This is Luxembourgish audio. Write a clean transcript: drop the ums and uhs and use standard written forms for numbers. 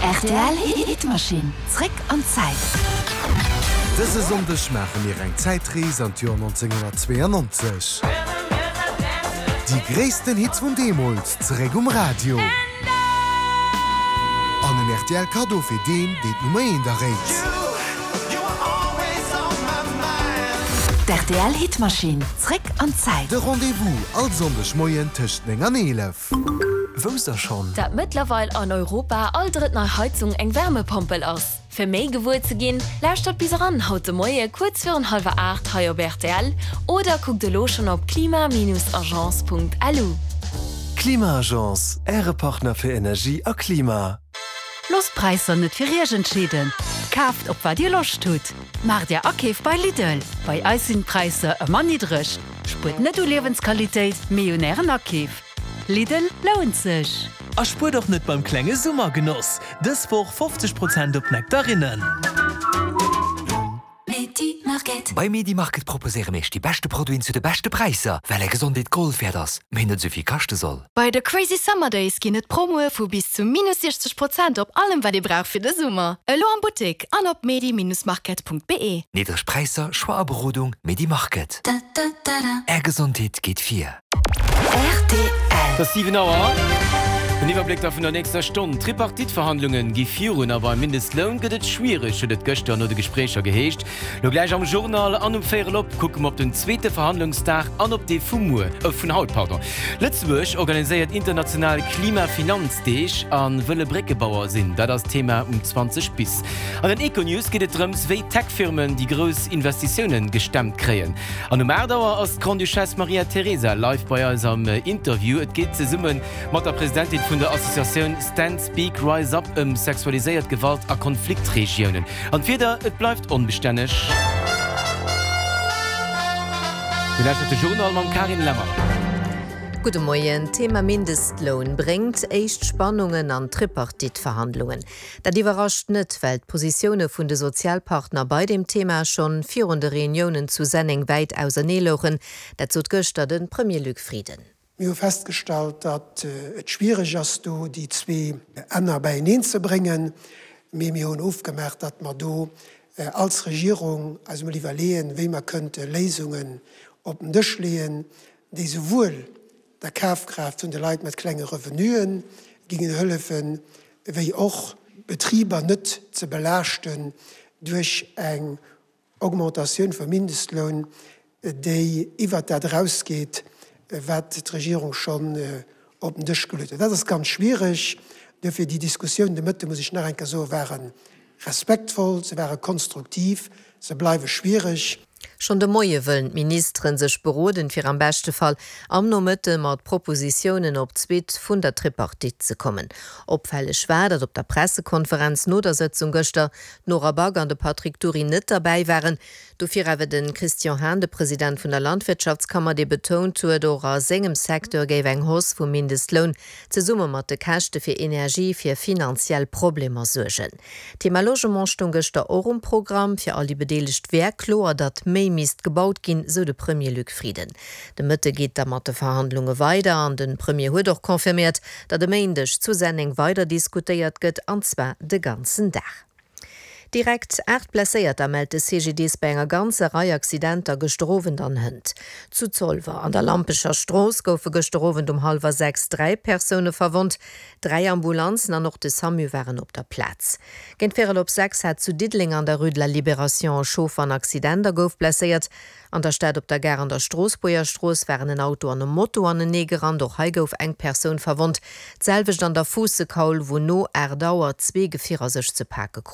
Rtl Hitmaschinn, zréck an d'Zäit. Dëse Sonndeg maache mir eng Zäitrees an d'Joer 1992. Déi gréissten Hits vun deemools zeréck um Radio. An en rtl Kaddo fir deen, deen d'Nummer eent erréit. D'RTL Hitmaschinn, zréck an d'Zäit. De Rendez-vous all Sonndeg Moien tëscht 9 an 11. Wousst der schonn? Dat mëttlerweil an Europa all drëtt nei Heizung eng Wärmepompel ass? Fir méi gewuer ze ginn, lauschtert bis eran haut de Moie kuerz virun hallwer 8 hei op rtl oder kuckt elo schonn op klima-agence.lu. Klima-Agence, Äre Partner fir Energie a Klima. Loosst d'Präisser net fir Iech entscheeden, kaaft op wat Dir Loscht hutt. Maacht Är Akeef bei Lidl, bei eis sinn d'Präisser ëmmer niddreg. Spuert net u Liewensqualitéit, mee un Ären Akeef. Lidl lount sech! A spuert och net beim klenge Summergenoss! Dës Woch 50 Prozent op Nektarinnen. Bei Medimarket proposéiere mir iech déi beschte Produiten zu de beschte Präisser, well är Gesondheet Gold wäert ass, mee net esou vill kaschte soll. Bei de Crazy Summer Days ginn et Promoe vu bis zu minus 60 Prozent op allem wat ee brauch fir de Summer. Elo am Buttek an op medi-market.be. Niddreg Präisser, Choix a Berodung, Medimarket. Är Gesondheet geet vir. Rtl. Et ass 7 Auer. Den Iwwerbléck da vun der nächster Stonn. D'Tripartite-Verhandlunge gi virun a beim Mindestloun gëtt et schwiereg, huet et gëschter no de Gespréicher geheescht. Lo gläich am Journal an um Véierel op kucke mer op den zweete Verhandlungsdag an op dee vu muer, äh vun haut, pardon. Lëtzebuerg organiséiert international Klimafinanzdeeg a wëlle Bréckebauer sinn. Dat ass d'Thema um 20 bis. An den Econews geet et drëms, wéi Tech-Firmen déi grouss Investitioune gestemmt kréien. An um 8 Auer ass d'Grande-Duchesse Maria Teresa live bei eis am Interview. Et geet zesumme mat der Presidentin vun der Associatioun Stand Speak Rise Up ëm sexualiséiert Gewalt a Konfliktregiounen. An d'Wieder, et bleift onbestänneg. Dir lauschtert de Journal mam Carine Lemmer. Gudde Moien. D'Thema Mindestloun bréngt éischt Spannungen an d'Tripartite-Verhandlungen. Dat iwwerrascht net, well d'Positioune vun de Sozialpartner bei deem Thema schonn virun de Reuniounen zu Senneng wäit ausernee louchen. Dat sot gëschter de Premier Luc Frieden. Mir hu festgestallt, datt et schwiereg ass, do déi zwee Enner beieneen ze bréngen. Mee mir hunn ofgemaach, datt mer do als Regierung eis emol iwwerleeën, wéi mer kënnte Léisungen op den Dësch leeën, déi souwuel der Kafkraaft vun de Leit mat klenge Revenuen gingen hëllefen, wéi och d'Betriber net ze belaaschten duerch eng Augmentatioun vum Mindestloun, déi iwwert dat erausgeet, wat d'Regierung schonn op den Dësch geluet huet. Dat ass ganz schwiereg. Duerfir déi Diskussioun de Mëtte, muss ech nach eng Kéier soen, ware respektvoll, se ware konstruktiv, se bleiwe schwiereg. Schonn de Moie wëllen d'Ministere sech beroden, fir am beschte Fall am Nomëtte mat Propositiounen op d'Suite vun der Tripartite ze kommen. Opfälleg war, datt op der Pressekonferenz no der Sëtzung gëschter d'Nora Back an de Patrick Dury net derbäi waren. Dofir awer de Christian Hahn, de President vun der Landwirtschaftskammer, dee betount huet, och a sengem Secteur géif eng Hausse vum Mindestloun zesumme mat de Käschte fir Energie fir finanziell Problemer suergen. D'Thema Logement stoung gëschter och um Programm. Fir all déi Bedeelegt wär kloer, datt méi misst gebaut ginn, sou de Premier Luc Frieden. De Mëtte geet da mat de Verhandlunge weider an de Premier huet och confirméiert, datt e Méindeg zu Senneng weider diskutéiert gëtt, an zwar de ganzen Dag. Direkt 8 Blesséierter mellt de CGDIS bei enger ganzer Rei Accidenter gëschter Owend an hënt. Zu Zolwer an der Lampecher Strooss goufe gëschter Owend um hallwer 6 3 Persoune verwonnt. Dräi Ambulanzen an och de Samu waren op der Plaz. Géint véierel op 6 hat zu Diddeleng an der Rue de la Libération e Chauffer en Accident a gouf blesséiert. An der Stad op der Gare an der Stroossbuerger Strooss waren en Auto an e Moto anenee gerannt. Och hei gouf eng Persoun verwonnt. D'selwecht an der Fuussekaul, wou no 8 Auer zwee Gefierer sech ze pake kruten.